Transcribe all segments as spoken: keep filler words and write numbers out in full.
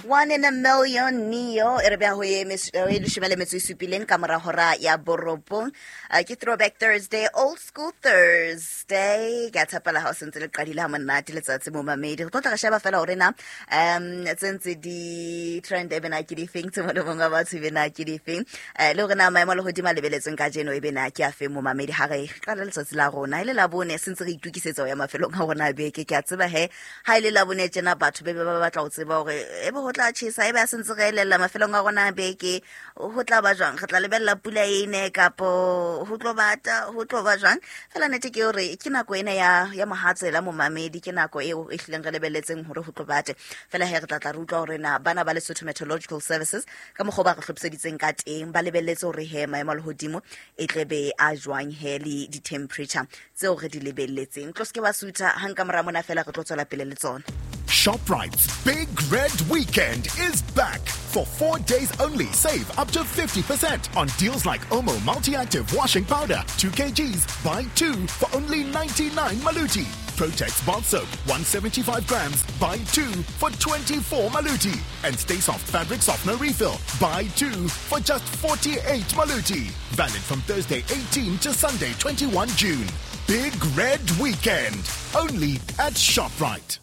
One in a million Neo e re beha ho ye mes- ho ye leshome le metso e supileng ka mora hora ya borobong. Uh, ke Throwback Thursday, Old School Thursday. Ke a tshepela ha o sentse le qadile ha monate letsatsi mo mamedi. Re tlo tla re sheba fela hore na um tse ntse di trend e bena ke difeng, tse molemong wa batho e bena ke difeng. Eh, le hore na maemo a lehodimo a lebeletsweng kajeno e bena ke afe mo mamedi ha re qala letsatsi la rona. E le Labone se ntse re itokisetsa ho ya mafelong a rona a beke. Ke a tseba he ha e le Labone tjena batho be be ba batla ho tseba hore ebe ho tla tjhesa, ebe a se ntse re elella mafelong a rona a beke, ho tla ba jwang, re tla lebella pula e ne kapo ho tlo bata, ho tlo ba jwang. Fela nnete ke hore ke nako ena ya ya mohatsela momamedi, ke nako eo e hlileng re lebelletseng hore ho tlo bate. Fela he re tla tla re utlwa hore na bana ba Lesotho Meteorological Services ka mokgwa o ba re hlophiseditseng ka teng ba lebelletse hore he maemo a lehodimo e tle be a jwang he le di-temperature tseo re di lebelletseng. Tlo se ke wa sutha hang ka mora mona fela re tlo tswela pele le tsona. ShopRite's Big Red Weekend is back. For four days only, save up to fifty percent on deals like Omo Multi-Active Washing Powder, two kilograms, buy two for only ninety-nine Maluti. Protex Bath Soap, one seventy-five grams, buy two for twenty-four Maluti. And Stay Soft Fabric Softener Refill, buy two for just forty-eight Maluti. Valid from Thursday eighteen to Sunday twenty-one June. Big Red Weekend, only at ShopRite.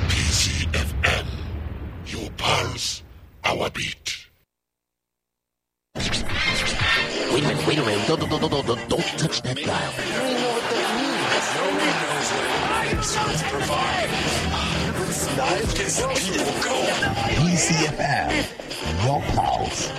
P C F M, your pulse, our beat. Wait a minute, wait a minute. Don't, don't, don't, don't, don't, don't touch that dial. P C F M, your pulse,